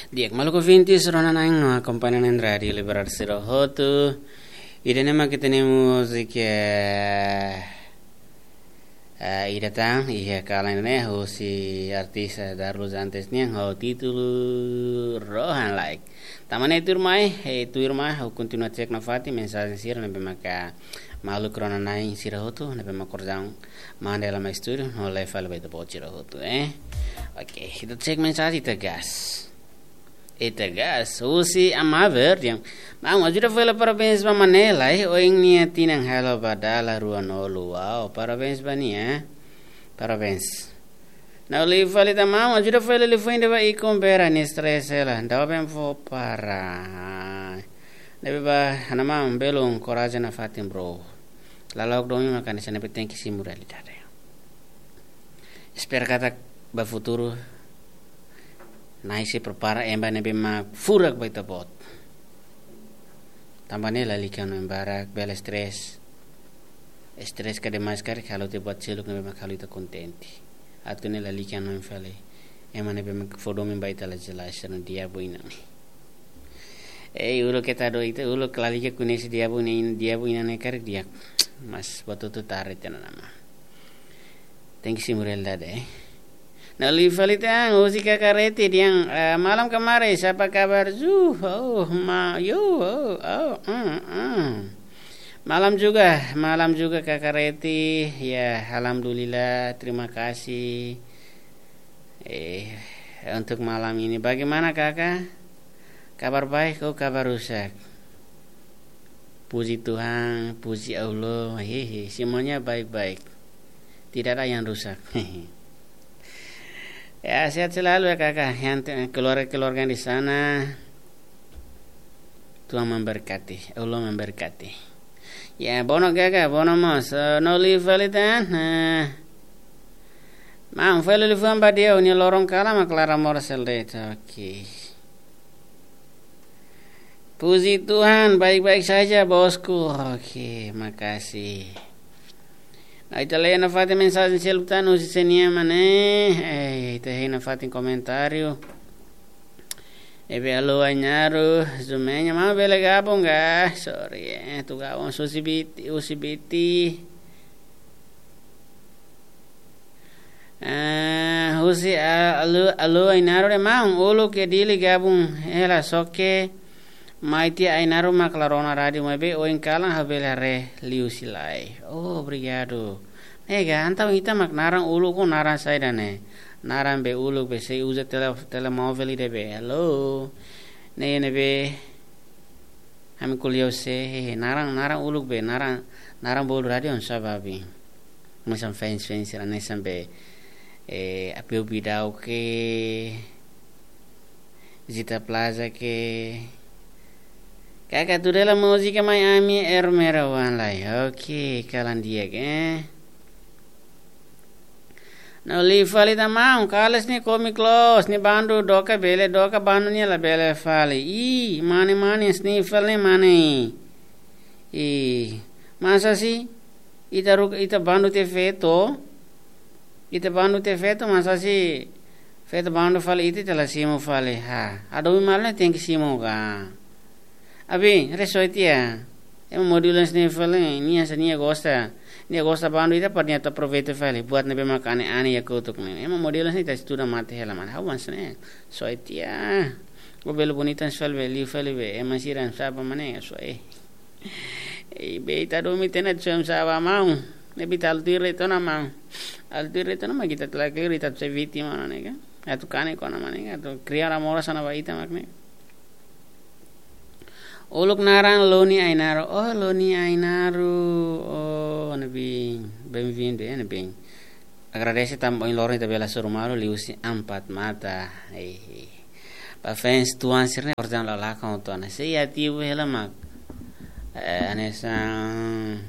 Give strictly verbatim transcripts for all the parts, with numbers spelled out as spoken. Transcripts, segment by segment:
Di'ak, maluk ouvintes, rona-na'in no akompaña na'in Rádiu Liberal sira hotu. Ida-ne'e mak ita-nia múzika, eh, ida tan, iha kalan ne'e, husi artis Darlus Antes nian, ho títulu Rohan Like. Tanba ne'e tuirmai, eh, tuirmai, ha'u kontinua cek nafatin mensajen sira ne'ebé maka maluk rona-na'in sira hotu, ne'ebé maka korjaun manda iha lama estúdiu, no leva fali ba ita-boot sira hotu, eh. Oke, ita cek mensajen, ita gas. Ita gas, husi Amaver, dehan: Maun, ajuda fali parabéns ba Manela, eh, ohin nia tinan halo ba dala ruanulu. Wow, parabéns ba nia. Parabéns. Na'in-lima fali tan: Maun, ajuda fali liafuan ida ba ikun Bera, nia stress hela. Dau ben fó para. Ne'ebé ba, ha'u-nia maun, belun, korajen nafatin, bro. Lalok domin maka hanesan ne'e, tenke simu realidade. Espera katak ba futuru, Na'i sei prepara ema ne'ebé mak furak ba ita-boot. Tanba ne'e lalika hanoin barak, bele stress. Stress ka demais karik halo ita buat seluk ne'ebé mak halo ita kontente. Atu nune'e lalika hanoin fali ema ne'ebé mak fó domin ba ita la jelas, no diabu inan. Eh, uluk ita dook, ita uluk lalika koñese diabu ne'e, diabu inan ne'e karik di'ak. Mas buat hotu tarde tiha ona, maun. Tenke simu realidade, eh. Na'in-lima fali tan, husi Kaka Reti, dehan, eh, malam kemarin, siapa kabar? Zuh, oh, ma, yo, oh, oh, mm, mm. Malam juga, malam juga, Kaka Reti. Ya, alhamdulillah, terima kasih. Eh, untuk malam ini, bagaimana, Kaka? Kabar baik, oh, kabar rusak? Puji Tuhan, puji Allah, hehe, semuanya baik-baik. Tidak ada yang rusak. Ya, sehat selalu ya, Kaka. Yang te-, keluarga-keluarga di sana, Tuhan memberkati, Allah memberkati. Ya, bono, Kaka, bono mós. Eh, na'in-lima fali tan. Nah. Maun, fali liafuan ba Di'au, nia loron kalan mak laran moras hela de'it. Oke. Puji Tuhan, baik-baik saja, bosku. Oke, makasih. Nah, ita lee nafatin mensajen seluk tan, husi sé nian mak ne'e. Eh, ita hein nafatin komentáriu. Ebe, alô, Ainaro, Zumeña, maun bele gabung ka? Sorry, eh, atu gabung, husi Biti, husi Biti. Eh, husi, ah, alô, alô, Ainaro dehan: Maun, uluk iha Dili gabung hela, só ke mai tiha Ainaro mak la rona rádiu, maibé ohin kalan ha'u bele haree liuhusi live. Oh, obrigadu. Ne'e ka, entaun ita mak naran uluk ho naran saida ne'e? Naran be uluk be sei uza tele-, telemóvel ida be. Alô? Ne'e, ne'ebé ami ko'alia ho sé, he, he, naran, naran uluk be, naran, naran bolu rádiu oinsá, babi? Hanesan fans, fans sira hanesan be, eh, Apeu Bidau ke, Zita Plaza ke. Kaka, tuda hela múzika mai ami, Ermera Wan Lai. Oke, kalan di'ak, eh. Na'in-lima fali tan: Maun, kales nia komik loos, nia bandu doka bele, doka bandu nia labele fali. Ih, mane, mane, Sniffle ne'e mane. Ih, masa si ita ruk-, ita bandu tiha feto. Ita bandu tiha feto, masa si feto bandu fali ita, ita la simu fali. Ha, adu mi mal ne'e tenke simu ka? Abi, resoit ya. Ema modelu hanesan ne'e fali, nia hanesan nia gosta. Nia gosta bandu ita, para nia atu aproveita fali. Buat ne'ebé mak ane-ane iha kotuk ne'e. Ema modelu hanesan ne'e ita estuda mate hela, maun. Ha'u hanesan ne'e. Soe tiha. Ó bele bonita hanesan fali be, liu fali be. Ema sira hanesan sá ba, maun, ne'e, soe. Eh, be ita domin tiha ona, soe hanesan sá ba, maun? Ne'ebé ita halo tuir de'it ona, maun. Halo tuir de'it ona, mak ita tela klir, ita sei vítima ona, ne'e ka? Atu kanek ona, maun, ne'e ka? Atu kria namorasaun ba ita mak ne'e. Uluk naran Loni Ainaro. Oh, Loni Ainaro. Oh, ne'ebé, bem-vindo, eh, ne'ebé. Agradese tanba ohin loron ita bele hasoru malu liuhusi Empat Mata. Eh, eh. Ba fans tuan sira-ne'e, korjaun la lakon tiha ona. Sei ativu hela mak. Eh, hanesan,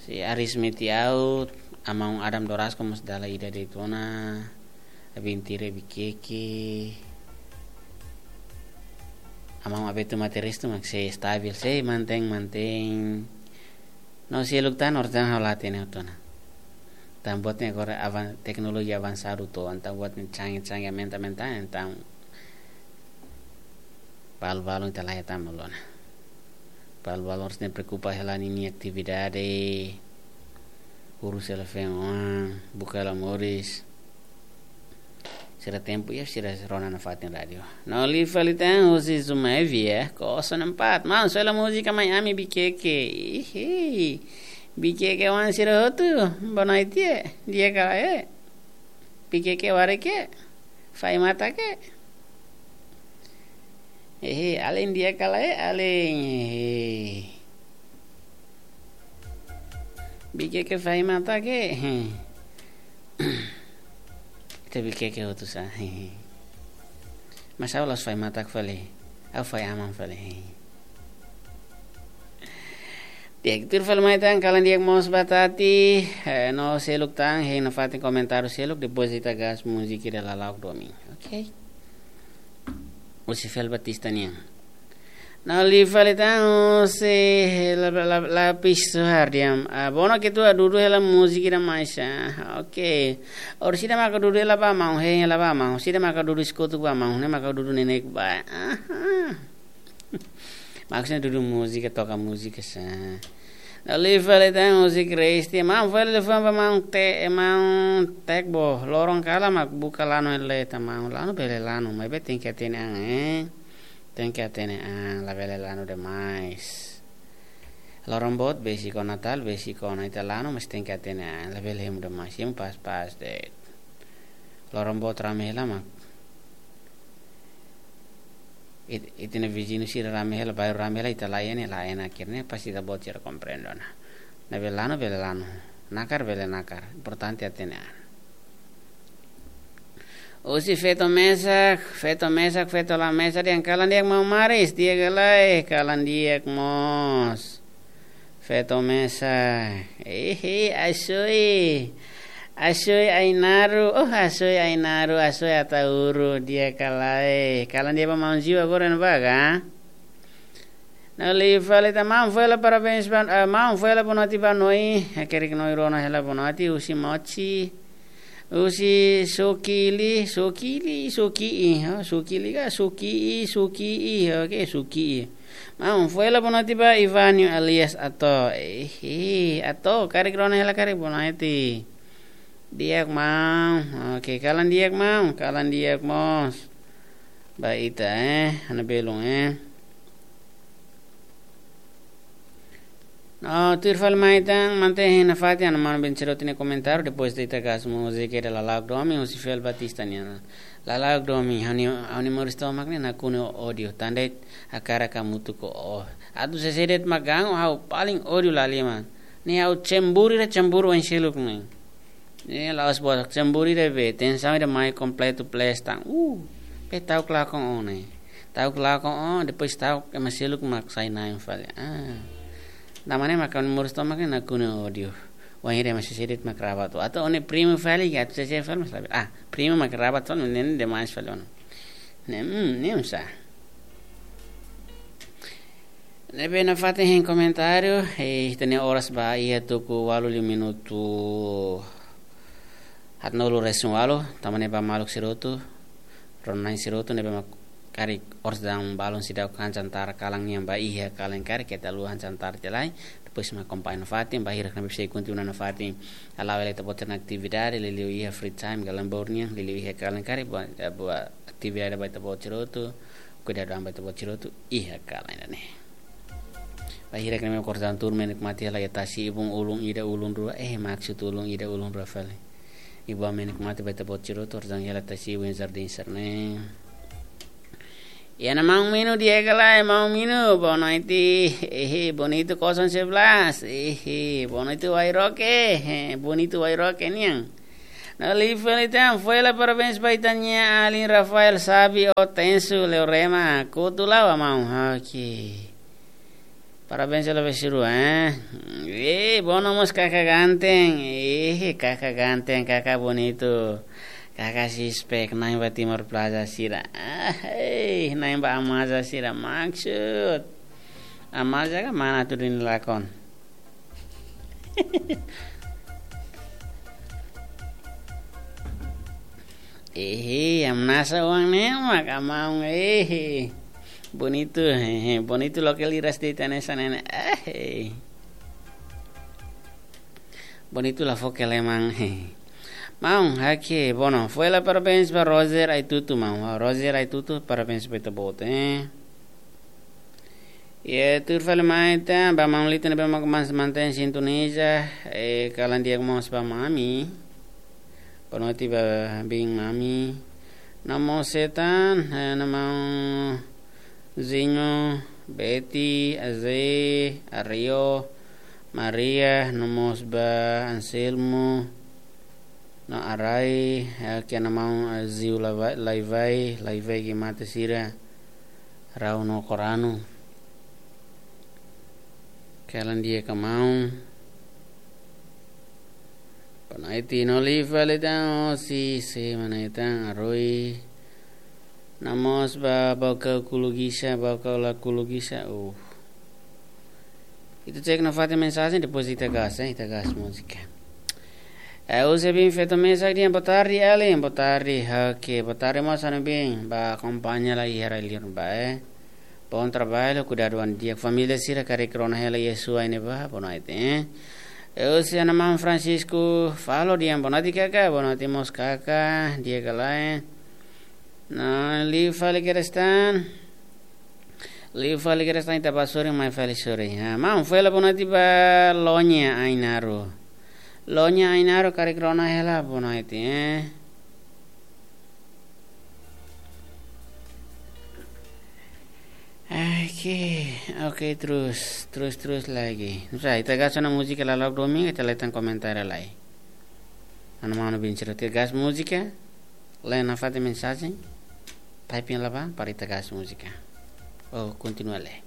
sei Aris Metiaut, Amaun Adam Dorasco mós dala ida de'it ona, Abintire Bikeke, Amaun Abetu Materis tu mak sei stabil, sei mantein, mantein. No seluk tan, entaun ha'u la hatene tiha ona. Entaun buat ne'e agora avan-, teknolojia avansadu to'o, entaun buat ne'e canggih-canggih, aumenta-aumenta, entaun balu-balu ita la hetan malu ona. Balu-balu harus ne'e preokupa hela ninia atividade, urus hela feen-oan, buka hela moris. Sira tempu iha, sira rona nafatin rádiu. No li fali tan husi Zumaivi, eh, kosong empat. Maun, soe hela múzika mai ami Bikeke. Ihi. Bikeke oan sira hotu, boa noite, eh. Di'ak ka lae? Bikeke warek ke? Fai matak ke? Ehe, alin di'ak ka lae, alin. Ehe. Bikeke fai matak ke? Ehe. Ita Bikeke hotu sá. Ehe. Mas ha'u la'ós fai matak fali. Ha'u fai aman fali. Ehe. Di'ak, tuir fali mai tan, kalan di'ak mós ba Tati, eh, no seluk tan, hein nafatin komentáriu seluk, depois ita gas múzika ida lala'ok domin. Ok. Husi Fel Batista nian. No li fali tan, husi la, la, la, Lapis Suhar diam. Ah, bono ke tu dudu hela múzika ida mais, ah, ok. Orsida maka dudu hela ba maun, hein hela ba maun. Orsida maka dudu eskotu ba maun, ne'e maka dudu neineik ba. Aha. Maksudnya dudu múzika, toka múzika sá. Lalu fali tan husi Kristi. Maun fali telefone ba maun te, maun Tekbo. Loron kalan mak buka lanu ele ta maun. Lanu bele lanu, maibé tenke hatene an, eh. Tenke hatene an, labele lanu demais. Loron boot besik ona, Natal besik ona, ita lanu mas tenke hatene an, labele hemu demais. Hemu pas-pas de'it. Loron boot rame hela mak it-, ita-nia viziñu sira rame hela, bairru rame hela, ita la iha ne'e, la iha ne'e, akhirnya pasti ita-boot sira komprende ona. Ne'ebé lanu bele lanu, nakar bele nakar, importante hatene an. Husi Feto Mesak, Feto Mesak, Feto la Mesak, dehan kalan di'ak maun Maris, di'ak ka lae, kalan di'ak mós. Feto Mesak. Ehe, Asoi. Asoi Ainaru. Oh, Asoi Ainaru, Asoi Ataúru, di'ak ka lae. Kalan di'ak ba maun Ziu agora ne'ebá ka? No li fali tan maun, foin hela parabéns ba, eh, maun, foin hela boa noite ba noi. Hakerek noi rona hela boa noite, husi Mochi. Husi Sukili, Sukili, Suki'i, ha, Sukili ka, Suki'i, Suki'i, oke, Suki'i. Maun, foin hela boa noite ba Ivanio alias Ato. Eh, eh, Ato, karik rona hela karik boa noite. Di'ak maun, oke, kalan di'ak maun, kalan di'ak mós. Ba ita, eh, ha'u-nia belun, eh. No, tuir fali mai tan, mantén hein nafatin, ha'u-nia manu Ben Siroti nia komentáriu, depois ita gas múzika ida lala'ok domin, husi Fel Batista nian. Lala'ok domin, ha'u-nia, ha'u-nia moris tomak ne'e nakonu ho ódiu, tan de'it hakarak hamutuk ho ó. Atu sesé de'it mak ganggu, ha'u paling ódiu laliman. Ne'e ha'u cemburu ida cemburu oin seluk ne'e. Ne'e la'ós boot, cemburu ida be, tensaun ida mai kompletu plus tan. Uh, be ta'uk lakon ó ne'e. Ta'uk lakon ó, depois ta'uk ema seluk mak sai na'in fali. Ah. Tanba ne'e mak ha'u-nia moris tomak ne'e nakonu ho ódiu. Wainhira ema sesé de'it mak rabat ó. Atu ó ne'e primu fali, atu sesé fali, mas labele. Ah, primu mak rabat ó, ne'e demais fali ó. Ne'e, hmm, ne'e sá. Ne'ebé nafatin hein komentáriu, eh, ita-nia oras ba iha tuku ualu liu minutu haatnulu-resin-ualu, tanba ne'e ba maluk sira hotu, rona-na'in sira hotu, ne'ebé mak karik oras daudaun balun seidauk han jantar kalan nian ba iha kalan karik, keta haluha han jantar tiha lai, depois mak akompaña nafatin, ba hirak ne'ebé sei kontinua nafatin, hala'o hela ita-boot sira-nia atividade, liuliu iha free time, galan bour nian, liuliu iha kalan karik, buat, eh, buat atividade ba ita-boot sira hotu, kuidadu an ba ita-boot sira hotu, iha kalan ida-ne'e. Ba hirak ne'e mak oras daudaun tuur menikmati hela iha tasi-ibun ulun ida ulun rua, eh, maksud ulun ida ulun rua fali. Ibun menikmati ba ita-boot sira hotu, oras daudaun hela tasi-ibun iha jardín sira-ne'e. Iha ona maun Minu, di'ak ka lae maun Minu, boa noite, ehe, Bonito kosong sebelas, ehe, boa noite Wairoke, eh, Bonito Wairoke nian. No li fali tan, foin hela parabéns ba ita-nia alin Rafael Sabi Otensu Leorema, kutu la'o maun, oke. Parabéns hela ba sira, eh. Eh, bono mós kaka ganteng, eh, kaka ganteng, kaka bonito, kaka sispek, na'in ba Timor Plaza sira. Ah, eh, na'in ba Amaza sira, maksud. Amaza ka mana atu duni lakon. Ehe, hamnasa oan ne'e mak, amaun, ehe. Bonitu, ehe, bonitu loke liras de'it hanesan ne'e. Ehe. Bonitu la foke lemang, ehe. Maun, hake, bono, foin hela parabéns ba Roger Aitutu, maun. Ó, Roger Aitutu, parabéns ba ita-boot, eh. Iha tuir fali mai tan, ba maun Lito ne'ebé mak mós mantein sintoniza, eh, kalan di'ak mós ba mami. Boa noite ba biin mami. No mós sei tan, eh, no maun Zinho, Betty, Aze, Ario, Maria, no mós ba Anselmo, no Arai, eh, ke no maun, eh, Ziu Lavai, Laivai, Laivai ke mate sira, Rau no Koranu. Kalan di'ak maun. Boa noite, no liu fali tan, oh, si, si, mana tan, Aroi. No mós ba, ba kau kulugisa, ba kau la kulugisa, uh. Ita cek nafatin mensajen, depois ita gas, eh, ita gas múzika. Eh, husi biin feto mesak dehan, boa tarde, Ellen, boa tarde, oke, boa tarde, mós ha'u-nia biin, ba akompaña lai iha rai-li'ur ba, eh. Bom trabalho, kuidadu an di'ak, família sira karik rona hela iha suai ne'ebá, boa noite, eh. Eh, husi ha'u-nia maun Francisco Falo dehan, boa noite, kaka, boa noite, mós kaka, di'ak ka lae. No, liu fali kedas tan. Liu fali kedas tan, ita bá sorin, mai fali sorin. Ha, maun, foin hela boa noite ba Lonya Ainaro. Lonya Ainaro, karik rona hela, boa noite, eh. Oke, oke, terus, terus, terus lagi. Nusa, ita gas ona múzika, la'o domingu, ita leten komentáriu lai. Ha'u-nia maun biin sira, ita gas múzika. Lee nafatin mensajen, typing la bá, para ita gas múzika. Oh, kontinua lee.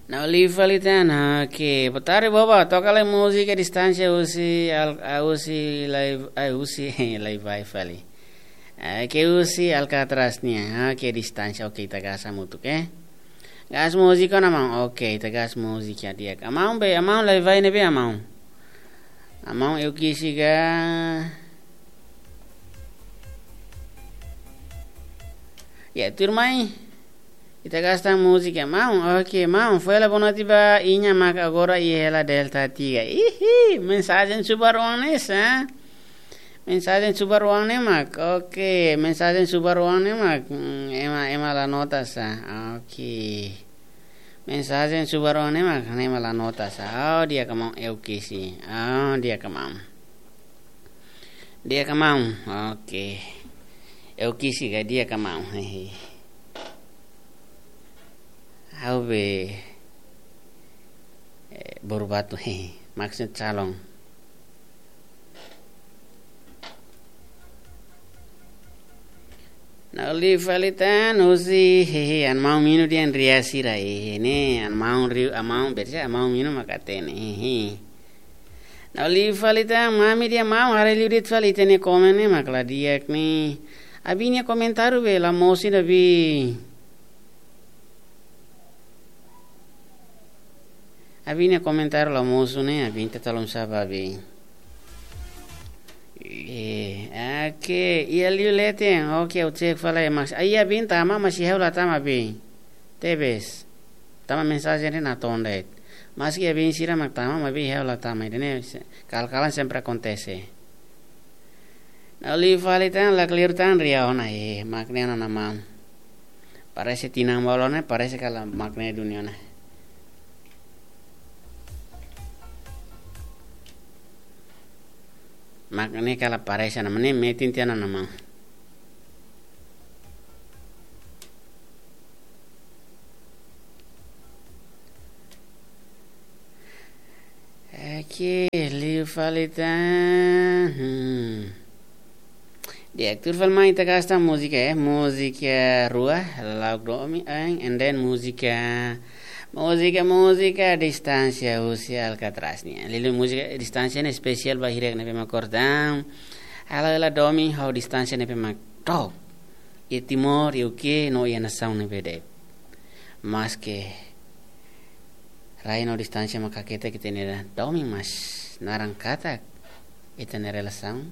No liu fali tan, oke. Boa tarde, boba. Toka lai múzika Distánsia husi al-, ah, husi Lai-, ah, husi Laivai fali. Oke, husi Alcatraz nian. Oke, Distánsia. Oke, ita gas hamutuk, eh. Gas múzika ona, maun. Oke, ita gas múzika di'ak. Amaun be, amaun Laivai ne'ebé amaun. Amaun Eukisi ka. Ya, tuirmai. Ita gas tan múzika, maun. Oke, maun. Foin hela boa noite ba Iña mak agora iha hela Delta tiga. Ihi, mensajen subar oan ne'e sa. Mensajen subar oan ne'e mak. Oke, mensajen subar oan ne'e mak. Hmm, ema, ema la nota sa. Oke. Mensajen subar oan ne'e mak, ne'e mak la nota sa. Oh, di'ak maun Eukisi. Oh, di'ak maun. Di'ak maun. Oke. Eukisi ka, di'ak maun. Hehe. Ha'u be, eh, Boru Batu, hehe. Maksud calon. No liu fali tan husi, hehe, ha'u-nia maun Minu dehan ria sira, hehe, ne'e, ha'u-nia maun Riu, ha'u-nia maun Bersa, ha'u-nia maun Minu mak hatene, hehe. No liu fali tan, mami dehan maun, haree liu de'it fali ita-nia komen ne'e mak la di'ak ne'e. Abin nia komentáriu be, la mosu ida be. Abin nia komentáriu la mosu ne'e, abin ita tolong saba be. Eh, oke, iha liu leten, oke, ha'u cek fali, mas, ah, iha abin tama, mas iha ha'u la tama be. Tebes. Tama mensajen ne'e natoon de'it. Maski abin sira mak tama, maibé iha ha'u la tama, ida-ne'e se-, kal-kalan sempre akontese. No liu fali tan, la clear tan, ria ona, eh, mak ne'e ona maun. Parese tinan ba loos ne'e, parese kalan mak ne'e duni ona. Mak ne'e kalan parese ona, mak ne'e metin tiha ona maun. Oke, liu fali tan. Hmm. Di'ak, tuir fali mai ita gas tan múzika, eh. Múzika rua, La'o Domin, eh, and then múzika, múzika, múzika Distánsia husi Alcatraz nian. Liuliu múzika Distánsia ne'e espesiál ba hirak ne'ebé mak kordang. Halo hela domin ho distánsia ne'ebé mak to'o iha Timor, iha U K, no iha nasaun ne'ebé de'it. Maske Rai no distánsia mak hakete ita-nia domin, mas naran katak ita-nia relasaun,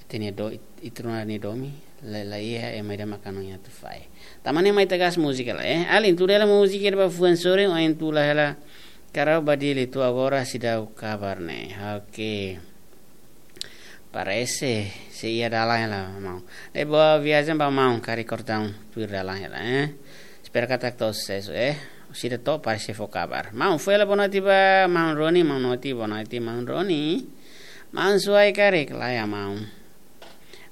ita-nia do-, ita rua nia domin, la, laiha ema ida maka hanoin atu fahe. Tanba ne'e mai ita gas múzika lai, eh. Alin, tuda hela múzika ida ba fuan sorin, ohin tula hela Karau ba Dili, to'o agora seidauk kabar ne'e. Oke. Parese sei iha dalan hela, maun. Ne'ebé boa viajen ba maun, karik kortaun tuir dalan hela, eh. Espera katak to'o susesu, eh. Seidauk to'o, parese fó kabar. Maun, fó hela boa noite ba maun Roni, maun Noti, boa noite maun Roni. Maun Suai karik, laiha maun.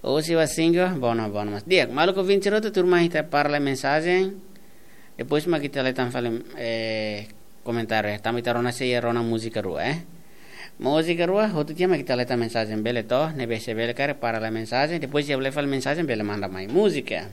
Osi wa singo, bono, bono mas. Di'ak, maluk ouvinte hotu, tuirmai ita para lai mensajen. Depois mak ita leta fali, eh, komentáriu, eh. Tanba ita rona sei rona múzika rua, eh. Múzika rua, hotu tiha mak ita leta mensajen, bele to, ne'ebé se bele karik para lai mensajen, depois se bele fali mensajen, bele manda mai múzika.